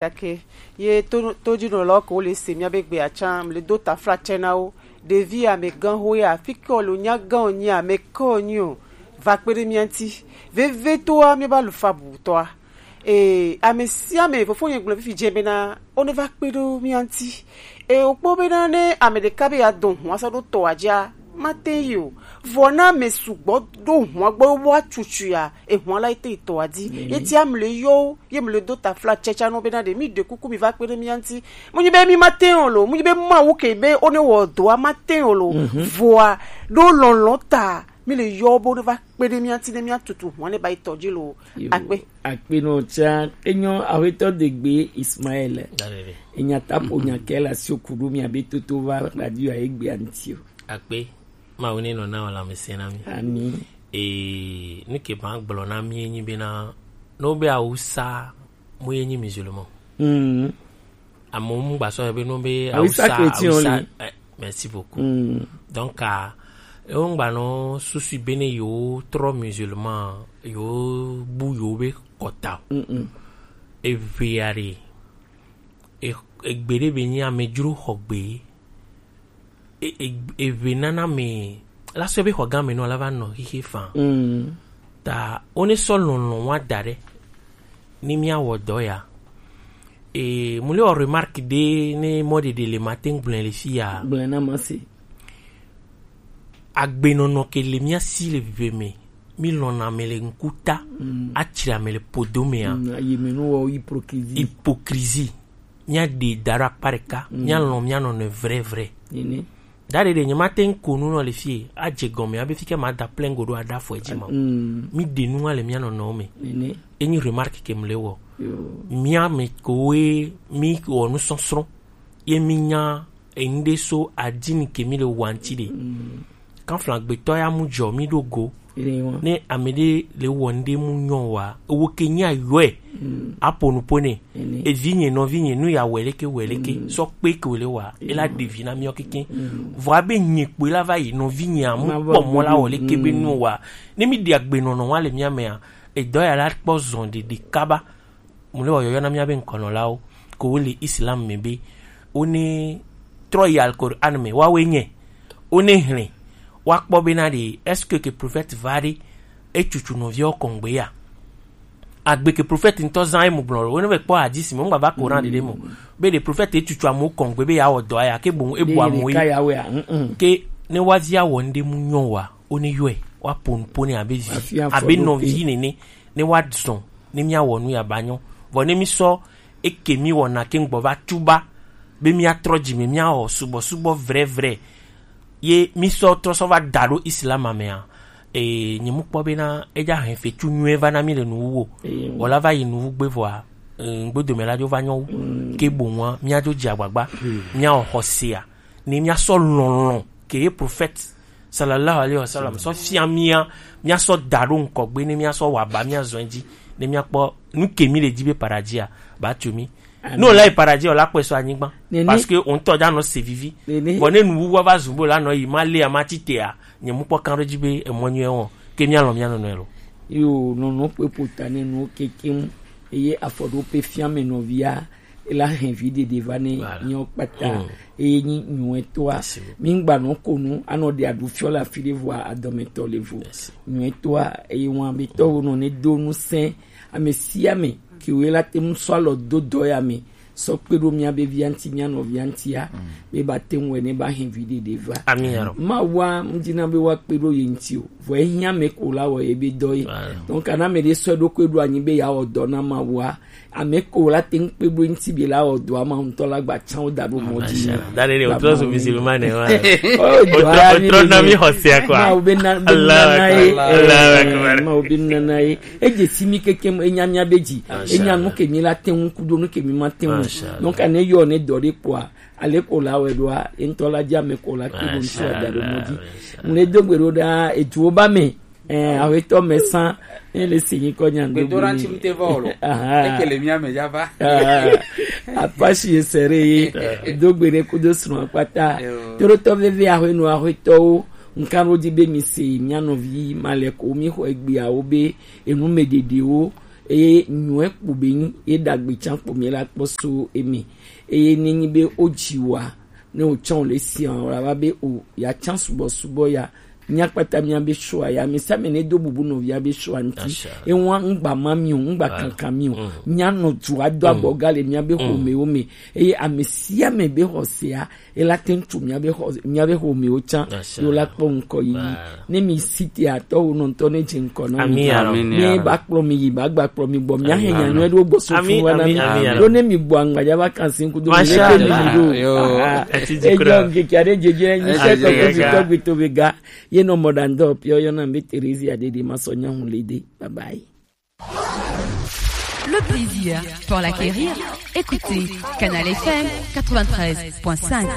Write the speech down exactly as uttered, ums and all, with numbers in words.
Gake ye to- tojinɔlawo ke wole se míabe gbe atsa, mle do taflatse na wo. Ɖevi amegãxo ya, fi ke wole nya gã wonyi, ame ke wonyi o, va kpe ɖe mía ŋuti. Vevitɔa, míabe alufa bubutɔa. Ee, ame sia ame, fofonye gblɔ fifi dze bena, wone va kpe ɖo mía ŋuti. Ee, wokpɔ bena ne ame ɖeka be yeado hɔn asa ɖo tɔa dzia, mate yi o. Vɔ na ame sugbɔ ɖo hɔn gbɔ woatutui ya, ehɔn la ete yi tɔa dzi. Ye tia mle yɔ wo, ye mle do taflatse tsa no bena ɖe mi ɖe kuku mi va kpe ɖe mía ŋuti. Mu nyi be mi mate o lo, mu nyi be Mawu ke be wone wɔ dɔa mate o lo. Vɔa ɖo lɔlɔ̃ ta mi le yɔ wo be wone va kpe ɖe mía ŋuti ne míatutu hɔn ne ba yi tɔ dzi lo. Yo, akpe. Akpe nɔ tsa, enyo awetɔ degbe Ismael. Enya tapo nya ke la si oku ɖo mía be toto va radio a egbe anti o. Akpe, Mawu ne nɔ na wò lãmesẽ na mí. Ami. Ee, nu ke ma gblɔ na mí enyi bena, ne wobe awusa mu ye nyi musulman. Mm. Amewo mu gba sɔ be no be Awusa awusa chrétien awusa li. Eh, merci beaucoup. Mm. Donc ah, ewo ŋgba nɔ susu be ne yewo trɔ musulman, yewo bu yewo be kɔta o. Mm-mm. Eʋe aɖe, e- egbe ɖe be nyi amedzro xɔ gbe. E- e- eʋe nana me la sɔ be xɔ gã me nɔ la va nɔ xixe fan. Mm. Ta wone sɔ lɔlɔ̃ wa da ɖe ni mía wɔ dɔ ya. E mu le wɔ remarque ɖe ne mɔ ɖeɖe le ma te gblẽ le fi ya. Gblẽ na ma se. Agbenɔnɔ ke le mía si le vive me, mi lɔna ame le ŋkuta, mm, atsri ame le podo mea. Mm, ayi me nu wɔ hypocrisie. Hypocrisie. Mía ɖe da ɖo akpa ɖeka, mm, mía lɔn mía nɔnɔe vrai vrai. Nene. Da ɖe ɖe nye ma te ŋ ko nu nɔ le fie, adze gɔme abe fi ke ma da plein go ɖo aɖa fɔ edzi ma. Mm. Mi ɖe nu le mía nɔnɔwo me. Nene. Enyi remarque ke mle wɔ. Yo. Mía me kowe mi wɔ nu sɔsrɔ̃. Ye mi nya eŋɖe so adini ke mi le wa ŋti ɖe. Mm. Kanfla gbetɔ ya mu jɔ mi ɖo go. Ene wa. Ne ame ɖe le wɔ ŋɖe mu nyɔ wa, ewo ke nya yɔe. Mm. Apo nu po ne. Ene. Evi nye nɔvi nye nu ya wɛ leke wɛ leke. Mm. Sɔ kpe ke wòle wa. Ene. Ela ɖe vi na miɔ keke. Mm. Vɔ abe nye kpoe la va yi nɔvi nye amu kpɔ mɔ la wɔ leke be nu wa. Ne mi ɖi agbenɔnɔ wa le mía mea, edɔ ya la kpɔ zɔn ɖeɖe kaba. Mu le wɔ yɔyɔ na mía be ŋkɔnɔlawo ko wo le Islam me be wo ne trɔ yi Alquran me wa we nye wo ne hlẽ wa kpɔ be na ɖe est-ce que ke prophète va ɖe etutu nɔviawo kɔngbe ya. Agbe ke prophète ŋutɔ zã emu gblɔ ɖo wo ne be kpɔ hadisi me ŋgba va Quran ɖeɖe mo be ɖe prophète etutu amewo kɔngbe be ya wɔ dɔ ya ke boŋ ebu amewo yi. Ɖeka ya wɛ a, mm, mm. Ke ne wa via wɔ ŋɖe mu nyɔ wa wo ne yɔe wa ponu pone abe vi abe nɔvi nene. Ne woazɔ ne míawɔ nu ya ba nyɔ. Vɔ ne mísɔ eke míwɔna ke ŋgbɔ va tuba be míatrɔ dzi me míawɔ subɔsubɔ vrɛvrɛ ye mísɔ trɔ sɔ va da ɖo Islam mea, ee, nye mu kpɔ bena edza hɛn fetu nyuie va na mí le nuwu o. Wòla va yi nuwu gbe vɔa, ee, ŋgbodome la dzo va nyɔ wu. Ke boŋua míadzo dze agbagba míawɔ xɔsea ne míasɔ lɔlɔ̃ ke ye prophète sallallahu alaihi wasallam sɔ fia mía, míasɔ da ɖo ŋkɔgbe ne míasɔ wɔ aba míazɔ edzi ne míakpɔ nu ke mí le dzi be paradisia ba tso mí. Ne wòla yi paradisia wòla kpɔe sɔ anyigba. Parce que wo ŋutɔ dza nɔ se vivi. Vɔ ne nuwuwua va zu be wòla nɔ yi ma lea ma ti tea, nye mu kpɔ kan ɖo dzi be emɔ nyuie wɔn ke míalɔ̃ mía nɔnɔe lo. Yo nɔnɔ kpe ƒota ne nuwo kekeŋ eye afɔɖoƒe fia me nɔvia ela hɛn vi ɖeɖe va ne nyɔ kpata eye nyi nyuɛtɔa. Mi ŋgba nɔ ko nu anɔ ɖe aɖu fiɔ le afi ɖe vɔa adɔmetɔ le vo. Nyuɛtɔa eye wɔn abetɔwo nɔ ne do nu sɛn ame sia ame ke wo la te ŋu sɔ alɔ do dɔ ya me sɔ kpe ɖo mía be via ŋuti mía nɔvia ŋutia be ba te ŋu wɛ ne ba hɛn vi ɖeɖe va. Ami ya rɔ. Ma wa ŋdina be wa kpe ɖo ye ŋuti o. Vɔ ehiã ame ko la wɔ ye be dɔ ye. Donc kana ame ɖe sɔ eɖokui ɖo anyi be ya wɔ dɔ na ma wa ame ko la te ŋu kpe ɖo eŋuti be la wɔ dɔ ama ŋutɔ la gba tsã wo da ɖo mɔ dzi. Da ɖe ɖe o trɔ so musulman ne wa. O trɔ na mi xɔsia quoi. Ma wo be na be nana ye. Ma wo be nana ye. Edze si mi keke enya mía be dzi. Enya nu ke mi la te ŋu ku ɖo nu ke mi ma te ŋu. Donc ne yɔ ne dɔ ɖe kpɔa ale ko la wɛ ɖoa eŋutɔ la dzi ame ko la kpe ɖo ŋutsu ada ɖo mɔ dzi. Ŋle do gbe ɖo ɖa eduwo ba me. Ɛɛ awetɔ me sã ne le si nyi kɔ nya do gbe. Gbedoɖa ŋuti ŋute vɔ o lo. Eke le mía me dza va. Apasi esere ye do gbe ɖe kudo srɔ̃ kpata. Torotɔ veve ahwenu ahwetɔwo ŋkan ɖo dzi be mi se mía nɔvi ma le ko mi xɔ egbeawo be enu me ɖeɖewo Eye nyɔɛ kpo be nyi ye ɖagbe can kpo mi la kpɔ so eme. Eye ne nyi be o dzi wa, ne o can o le sia o la va be o ya can subɔ subɔ ya. Mia kpata mia be sua ya, mi sa me ne do bubu nɔvia be sua nti. Ewa ngba ma mi o, ngba kankan mi o. Mia nɔ dua do abɔ ga le mia be xo me o me. Eye ame sia ame be xɔ sea, ela te ŋu tso mia be xɔ, mia be xo me o can. Yo la kpɔ ŋkɔ yi. Ne mi si te atɔ wo nɔ ŋutɔ ne dze ŋkɔ na mi. Mi ba kplɔ mi yi, ba gba kplɔ mi gbɔ. Mia he nya nyɔɛ ɖo gbɔ so fun wa na mi. Ɖo ne mi gbɔ angbaja va kan si ŋku do mi le ke mi do. Ejo ŋkeke aɖe dzedze nyi se tɔgbe tɔgbe to be ga. Ye nɔ mɔ ɖa ŋdɔ piɔ yɔ na mi be Teresia ɖe ɖe ma sɔ nya hu le de. Bye bye. Le plaisir pour l'acquérir. Écoutez Canal F M quatre-vingt-treize point cinq.